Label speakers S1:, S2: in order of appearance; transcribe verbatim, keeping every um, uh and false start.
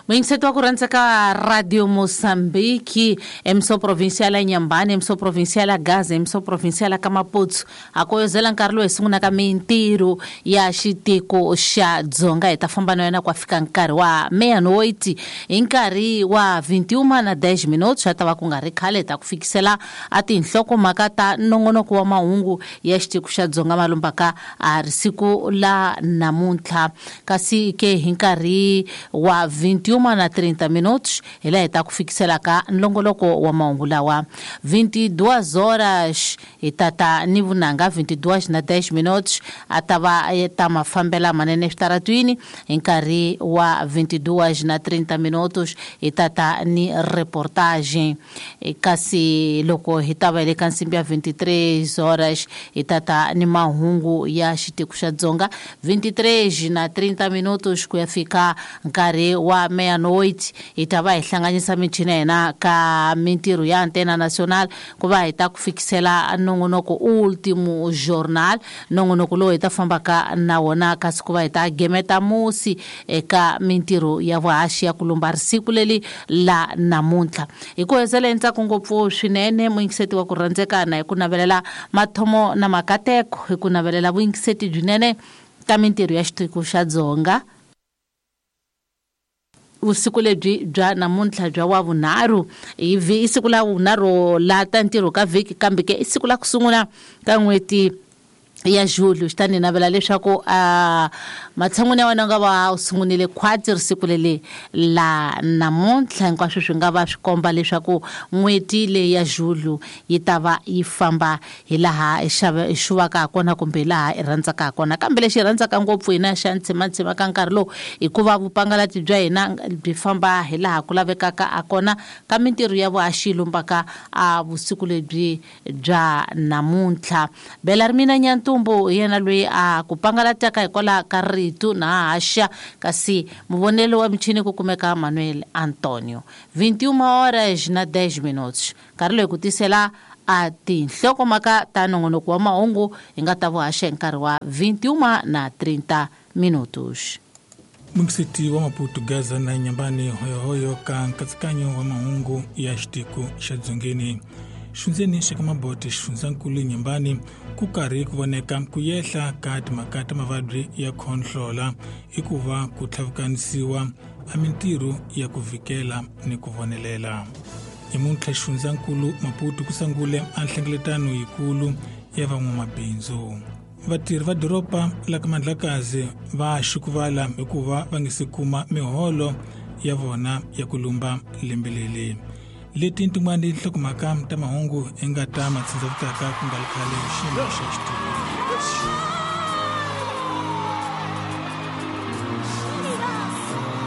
S1: Muyingiseti wa ku rhandza ka Radio Mozambique, emissão provincial ya Inhambane, emissão provincial ya Gaza, emissão provincial ya Maputo. A koyozela nkarhi lowu hi sungulaka mintirho ya xitiko xa Dzonga hi ta famba na yona ku fika nkarhi wa meia-noite hi nkarhi wa vinte e uma na dez minutos swa ta va ku nga ri khale hi ta ku fikisela a tinhlokomhaka ta nongonoko wa mahungu ya xitiko xa Dzonga malumbaka a ri siku la namuntlha kasi ke hi nkarhi wa vinte e uma na trinta minutos hi laha hi ta ku fikiselaka nlongoloko wa mahungu lawa vinte e duas horas hi tata ni vunanga vinte e duas na dez minutos a ta va ta mafambela manene eswitaratwini hi nkarhi wa vinte e duas na trinta minutos hi tata ni reportagem. Kasi loko hi ta va hi le ka nsimbi ya vinte e três horas hi tata ni mahungu ya xitiko xa Dzonga vinte e três na trinta minutos ku ya fika nkarhi wa meia-noite hi ta va hi hlanganisa michini ya hina ka mintirho ya Antena Nacional ku va hi ta ku fikisela nongonoko Último Jornal, nongonoko lowu hi ta fambaka na wona kasi ku va hi ta gemeta musi eka mintirho ya vuhaxi ya ku lumba risiku leri la namuntlha. Hi ku hezela ntsako ngopfu swinene muyingiseti wa ku rhandzekana hi ku navelela mathomo na makateko hi ku navelela vuyingiseti byinene ka mintirho ya xitiko xa Dzonga vusiku lebyi bya namuntlha bya wa vunharhu hi i siku la vunharhu la ta ntirho ka vhiki kambe ke i siku la ku sungula ka n'hweti ya julho. Xi ta ni navela leswaku a matshan'wini ya wena u nga va u sungunile khwatsi risiku leli la namuntlha hinkwaswo swi nga va swi komba leswaku n'hweti leyi ya julho yi ta va yi famba hi laha hi xava hi xuvaka ha kona kumbe hi laha hi rhandzaka ha kona. Kambe lexi hi rhandzaka ngopfu hina xa ntsimantsima ka nkarhi lowu hikuva vupangalati bya hina byi famba hi laha ku lavekaka ha kona ka mintirho ya vuhaxi yi lumbaka a vusiku lebyi bya namuntlha. Bela ri mina Nyantumbu hi yena loyi a ku pangalataka hikwalaho ka rito na haxa kasi muvonelo wa michini ku kumeka Manuel Antonio. vinte e uma horas na dez minutos nkarhi loyi ku tisela a tinhlokomhaka ta nongonoko wa mahungu hi nga ta vuhaxa hi nkarhi wa vinte e uma na trinta minutos.
S2: Muyingiseti wa Maputo, Gaza na Inhambane, hoyohoyo ka nkatsakanyo wa mahungu ya xitiko xa Dzongeni. Xifundzeni xa ka Mabote, xifundzankulu Inhambane, ku karhi ku voneka ku yehla ka timhaka ta mavabyi ya khonhlola i ku va ku tlhavukanisiwa a mintirho ya ku vhikela ni ku vonelela. Namuntlha xifundzankulu Maputo ku sungule a nhlengeletano yikulu ya van'wamabindzu. Vatirhi va doroba la ka Mandlakazi va xukuvala hikuva va nge se kuma miholo ya vona ya ku lumba lembe leri. Leti tin'wani nhlokomhaka ta mahungu i nga ta matshindzavutaka ku nga ri khale xiyimo xa xitiko.